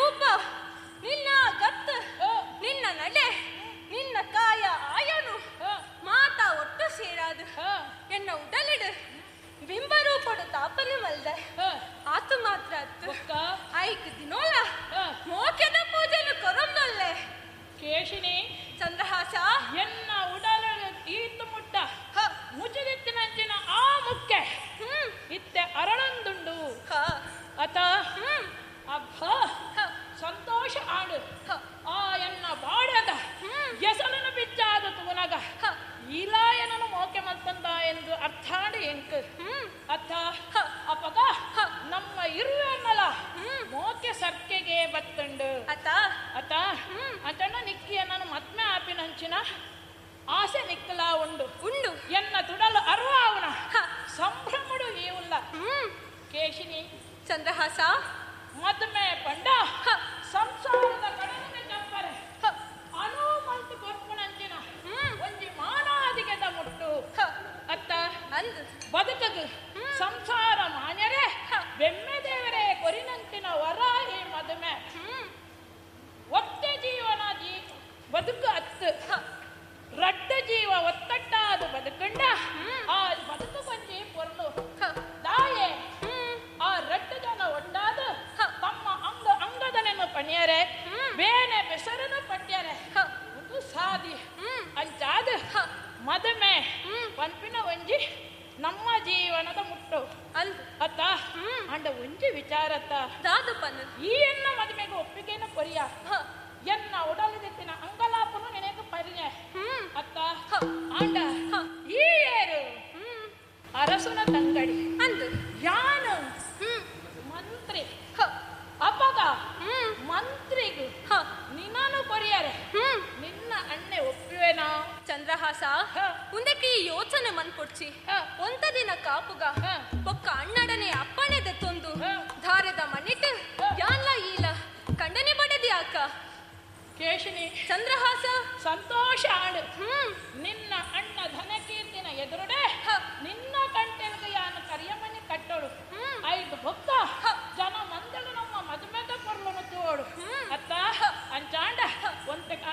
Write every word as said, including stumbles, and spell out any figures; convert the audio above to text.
ರೂಪ, ನಿನ್ನ ಗತ್ತು, ನಿನ್ನ ನಡೆ, ನಿನ್ನ ಕಾಯ ಆಯನು ಮಾತಾ ಒಟ್ಟು ಸೇರಾದು ಎನ್ನ ಉಡಲಿಡು ಬಿಂಬರೂಪಡು ತಾಪನೆ ಮಲ್ದೆ ಆತು ಮಾತ್ರ ಅತ್ತು ಐಕ್ ದಿನೋಲ ಮೋಕೆದ ಪೂಜೆನು ಕೊರೊಂದೊಲ್ಲೆ. ಕೇಶಿನಿ ಚಂದ್ರಹಾಸ, ಎನ್ನ ಉಡಲ ಈತು ಮುಟ್ಟ ಮುಚ್ಚದಿತ್ತಿನಂಚಿನ ಆ ಮುಕ್ಕೆ ಇತ್ತೆ ಅರಳೊಂದುಂಡು. ಅತ ಅಬ್ಬ ಸಂತೋಷ ಆಡು. ಆ ಎನ್ನ ಬಾಡದ ಎಸಲನು ಬಿಚ್ಚಾದ ತೂನಗ ಈಲಾಯನನು ಮೋಕೆ ಮಲ್ತಂದ ಎಂದು ಅರ್ಥಾಡು ಎಂಕ್. ಅಥ ಅಪಗ ನಮ್ಮ ಇರುವೆನ್ನಲ ಮೋಕೆ ಸರ್ಕೆಗೆ ಬತ್ತಂಡು. ಅತ ಅತ ಅಂತಣ್ಣ ನಿಕ್ಕಿಯ ನಾನು ಮದ್ಮೆ ಆಪಿನಂಚಿನ ಆಸೆ ನಿಕ್ಕಲಾ ಉಂಡು ಉಂಡು. ಎನ್ನ ತುಡಲು ಅರ್ವಾವನ ಸಂಭ್ರಮಡು ಈ ಉಲ್ಲ. ಕೇಶಿನಿ ಚಂದ್ರಹಾಸ, ಮದ್ಮೆ ಪಂಡ ಸಂಸಾರದ ಕಡಲಿನ ಚಪ್ಪರೆ ಅನು ಮಲ್ತು ಕೊರ್ಪುನಂಚಿನ ಒಂಜಿ ಮಾನಾದಿಗೆದ ಮುಟ್ಟು. ಅತ್ತ ಅಂದು ಬದುಕಗು ಸಂಸಾರ ಮಾನ್ಯರೇ ಬೆಮ್ಮೆ ದೇವರೇ ಕೊರಿನಂಚಿನ ವರ ಈ ಮದುಮೆ. ಒತ್ತೆ ಜೀವನ ಜೀ ಬದುಕು ಅತ್ತು ರಡ್ಡ ಜೀವ ಒತ್ತಟ್ಟಾದು ಬದುಕಂಡ ಆ ಬದುಕು ಕೊಂಜಿ ಪೊರ್ಲು ದಾಯೆ. ಆ ರಡ್ಡ ಜನ ಒಟ್ಟಾದ ತಮ್ಮ ಅಂಗ ಅಂಗದನೆನ್ನು ಪಣಿಯರೆ ಬೇನೆ ಬೆಸರನ್ನು ಪಟ್ಯರೆ ಒಂದು ಸಾದಿ ಅಂಚಾದ ಮದುಮೆ ಪನ್ಪಿನ ಒಂಜಿ ನಮ್ಮ ಜೀವನದ ಮುಟ್ಟು ಅತ್ತ. ಅಂಡ ಒಂಜಿ ವಿಚಾರತ್ತ ಈ ಎನ್ನ ಮದುಮೆಗೆ ಒಪ್ಪಿಗೆನ ಕೊರಿಯ ಎನ್ನ ಉಡಲಿದಿತ್ತಿನ ಅಂಗಲಾಪನು ನಿನಗೆ ಪರಿಣೆ ಅತ್ತ. ಆಂಡ ಈ ಏರು ಅರಸುನ ತಂಗಡಿ ಅಂದು ಯಾನು ಮಂತ್ರಿ. ಅಪಗ ಮಂತ್ರಿಗು ನಿನ್ನನು ಕೊರಿಯರೆ ನಿನ್ನ ಅಣ್ಣೆ ಒಪ್ಪುವೆನಾ? ಚಂದ್ರಹಾಸ, ಉಂದಕ್ಕೆ ಈ ಯೋಚನೆ ಮನ್ಪೊಡ್ಚಿ. ಒಂತ ದಿನ ಕಾಪುಗ ಬೊಕ್ಕ ಅಣ್ಣಡನೆ ಅಪ್ಪಣೆ ದೆತ್ತೊಂದು ಧಾರದ ಮನಿಟ್ ಯಾನ್ಲ ಈಲ ಕಂಡನೆ ಬಡದಿ ಆಕ. ಕೇಶಿನಿ ಚಂದ್ರಹಾಸ, ಸಂತೋಷ ಆಡು. ನಿನ್ನ ಅಣ್ಣ